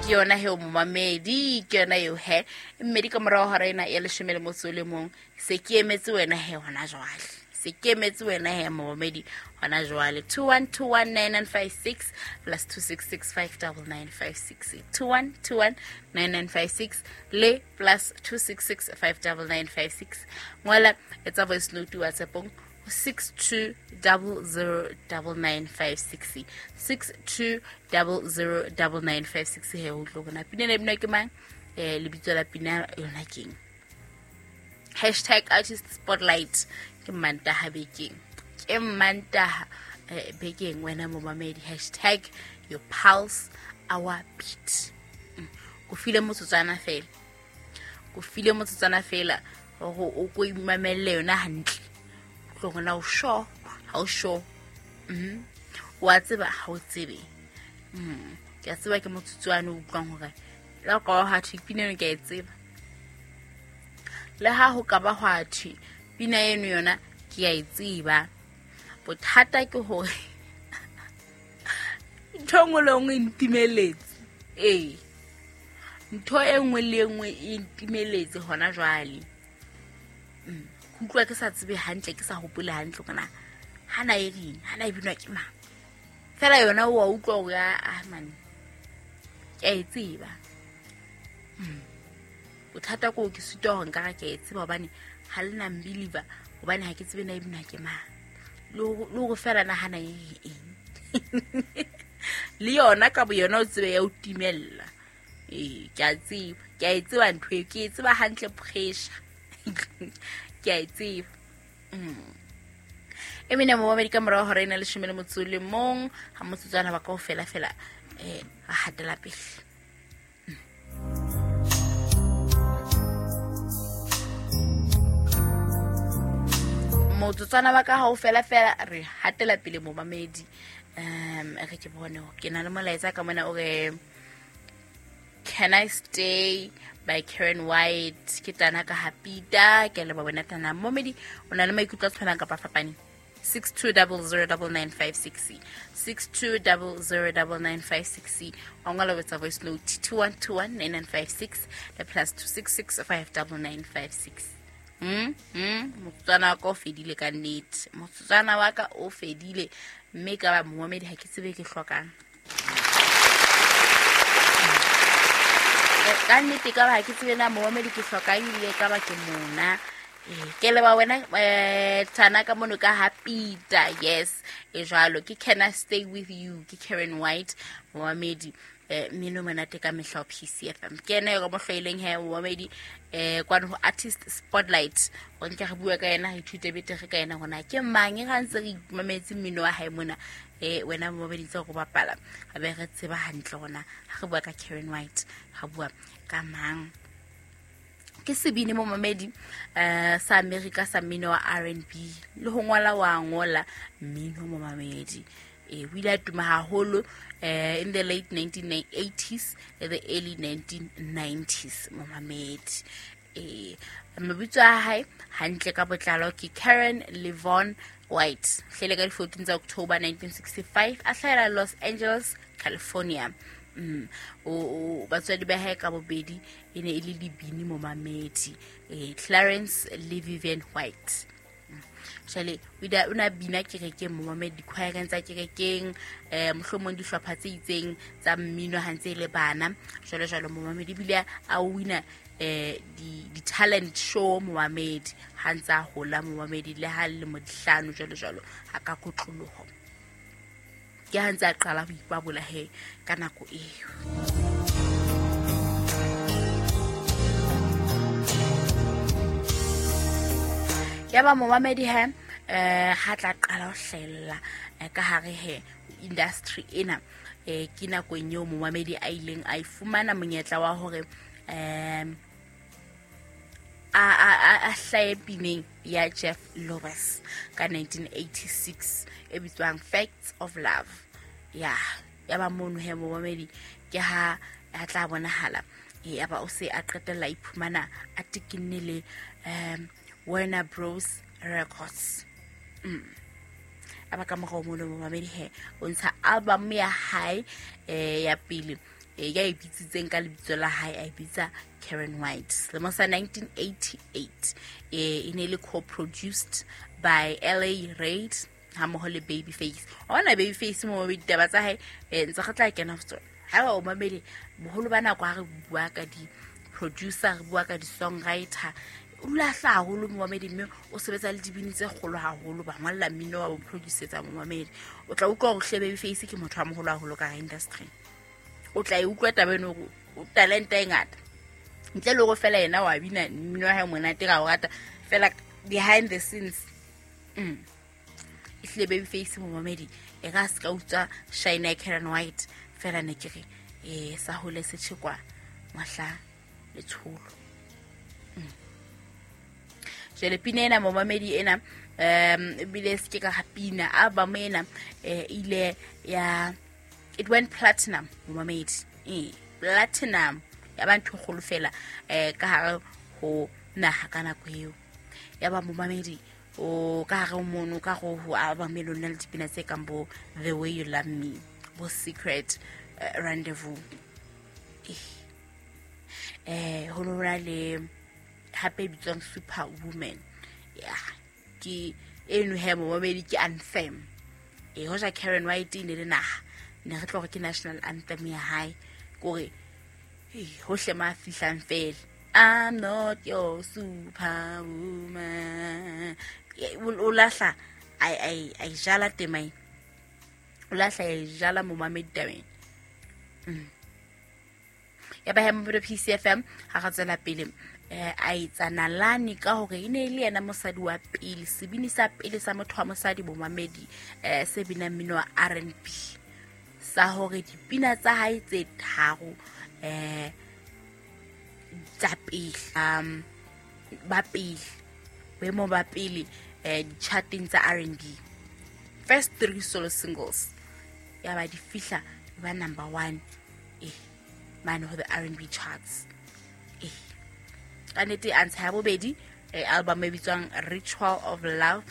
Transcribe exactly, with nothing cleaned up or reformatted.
Ke yona he o momamedi, ke yona eo he. Mme di ka morao hora ena ya leshome le motso o le mong, se ke emetse wena he hona jwale. Se ke emetse wena he momamedi hona jwale. two one two one nine nine five six plus two six six five double nine five six. two one two one nine nine five six le plus two six six five double nine five six. Ngola etsa voice note WhatsApp-ong six two double zero double nine five six. six two double zero double nine five six he o tlo bona pina ena e binwa ke mang, eh lebitso la pina yona keng. Hashtag artist spotlight ke Mantaha bekeng, ke Mantaha eh, bekeng wena momamedi. Hashtag your pulse our beat. Mm. Ko file motsotswana fela, ko file motsotswana fela hore o ko imamelle yona hantle. Tlo bona o sure, ha o sure. Mhm. Wa tseba ha o tsebe. Mhm. Ke a tseba ke motsotswana o utlwang hore la ka ha thwe pina eno ke a e tseba. Le ha ho ka ba hwa thwe pina eno yona ke a e tseba. Bothata ke hore ntho e nngwe le nngwe e ntimeletse. Ee. Ntho e nngwe le e nngwe e ntimeletse hona jwale. Mm. Ke utlwa ke sa tsebe hantle, ke sa hopole hantle hore na hana e reng, hana e binwa ke mang. Fela yona o a utlwa hore ah man, ke a e tseba. Mm. Bothata ke hore ke sitwa hore nka re ke a e tseba hobane ha le na mbeliver, hobane ha ke tsebe na e binwa ke mang. Le hore, le hore fela na hana e eng. Le yona ka boyona o tsebe ya o timella. Ee, ke a tseba, ke a e tseba ntho eo, ke e tseba hantle pressure. Ke a e tseba. Mm. E mene momamedi ka morao hora ena leshome le motso o le mong, ha motsotswana ba kaofela fela, eh, ra hatela pele. Motsotswana wa ka ha o fela fela re hatela pele momamedi. Um, re ke bone hore ke na le molaetsa ka mona o re Can I Stay by Karen White. Ke tana ka Hapita, ke leboha wena tana. Momedi o na le maikutlo a tshwanang kapa fapaneng? six two double zero double nine five six. six two double zero double nine five six. Wa ngola o etsa voice note two one two one nine nine five six le plus two six six five double nine five six. Mm, mm, motsotswana wa ka o fedile ka nnete. Motsotswana wa ka o fedile mme ka ba momamedi ha ke tsebe ke hlokang. Ka nnete ka ba ha ke tsebe na momamedi ke hlokang ebile ka ba ke mona. Eh, ke leba wena, eh, Tana ka mono ka Hapita. Yes, e jwalo. Ke Can I Stay With You, ke Karen White momamedi. Eh, mmino monate ka mehla ho P C F M. Ke ena eo ka mo hlwaileng he momamedi, eh, kwano ho Artist Spotlight. Ho nke re bua ka yena, re ithute betere ka yena hore na ke mang e ra ntse re imametse mmino wa hae mona. Eh, wena momamedi ntse re bapala, ha be re tseba hantle hore na ha re bua ka Karen White, re bua ka mang. Ke sebini momamedi, eh, sa America sa mmino wa R and B le ho ngola wa ngola mmino momamedi. Eh, o ile a tuma haholo, eh, in the late nineteen eighties le the early nineteen nineties momamedi. Eh, mabitso a hae hantle ka botlalo ke Karen Levon White. Hlele ka di fourteen tsa October nineteen sixty-five, a hlahela Los Angeles, California. Mm. O, o, batswadi ba hae ka bobedi e ne e le dibini momamedi, eh, Clarence le Vivian White. Jwale o ile a, o ne a bina kerekeng momamedi, dikhwaereng tsa kerekeng, eh, mohlomong dihlopha tse itseng tsa mmino ha ntse e le bana, jwalo jwalo momamedi. Ebile a wina, eh, di, di talent show momamedi ha ntse a hola momamedi, le ha lemo di hlano jwalo jwalo, ha ka kotloloho. Ke ha ntse a qala ho ipabola he ka nako eo. Ya ba momamedi he, eh, ha tla qala ho hlahella, eh, ka hare he industry ena, eh, ke nakong eo momamedi a ileng a e fumana monyetla wa hore, eh, a, a, a, a hlahe pineng ya Jeff Lewis ka nineteen eighty-six e bitswang Facts of Love. Ya, ya ba mono he momamedi ke ha a tla bonahala, e, ya ba o se a qetella a iphumana a tekinne le, um, Warner Bros Records. Mm. A ba ka morao mono momamedi he o ntsha album ya hae, eh, ya pele eh, ya e bitsitseng ka lebitso la hae, a e bitsa Karen White. Selemo sa nineteen eighty-eight, eh, e ne le co-produced by L A Reid hammoho le Babyface. Wa bona Babyface mo ditaba tsa hae, eh, ntse re tla kena ho tsona. Haeba o mamele boholo ba nako ha re bua ka di-producer, re bua ka di-songwriter, o dula a hlaha haholo momamedi, mme o sebetsa le dibini tse kgolo haholo, ba ngolla mmino wa bo producer-etsa momamedi. O tla utlwa hore hle Babyface ke motho a moholo haholo ka hara industry. O tla e utlwa taba eno hore o talente e ngata. Ntle le hore fela yena wa bina mmino wa hae monate ra o rata, fela behind the scenes, mm, ehlile Babyface momamedi e ka se ka utswa shine ya Karen White, fela ne ke re, eh, sa hole se tjhekwa mohla letsholo. Mm. Jwale pina ena momamedi ena, um, ebile se ke ka ga pina, album ena, eh, ile ya, it went platinum momamedi. Eh, platinum ya ba ntho e kgolo fela, eh, ka hare ho naha ka nako eo. Ya ba momamedi o ka hare mono, ka ho ho album e lona le dipina tse kang bo The Way You Love Me, bo Secret, eh, Rendezvous. Eh, eh, ho no na le hape e bitswang Superwoman. Yeah, ke eno he momamedi ke anthem. Eh, hoja Karen White e ne le naha, ne re tlo hore ke national anthem ya hae, kore, eh, hohle ma fihlang fela. I'm not your superwoman. Eh, o, o lahla, ai, ai, ai jala tema ena. O lahla, ai jala momamedi tabeng. Mm. Ya ba he Mobedo P C F M, ha re tswela pele, eh, a etsa nalane ka hore e ne e le yena mosadi wa pele, sebini sa pele sa motho wa mosadi bomamedi, eh, se binang mmino wa R and B, sa hore dipina tsa hae tse tharo, eh, tsa pele, um, ba pele, boemo ba pele, eh, di-charting tsa R and B. First three solo singles ya ba di fihla ba number one, eh, mane ho the R and B charts. Eh, ka nnete a ntsha ya bobedi, eh, album e bitswang Ritual of Love,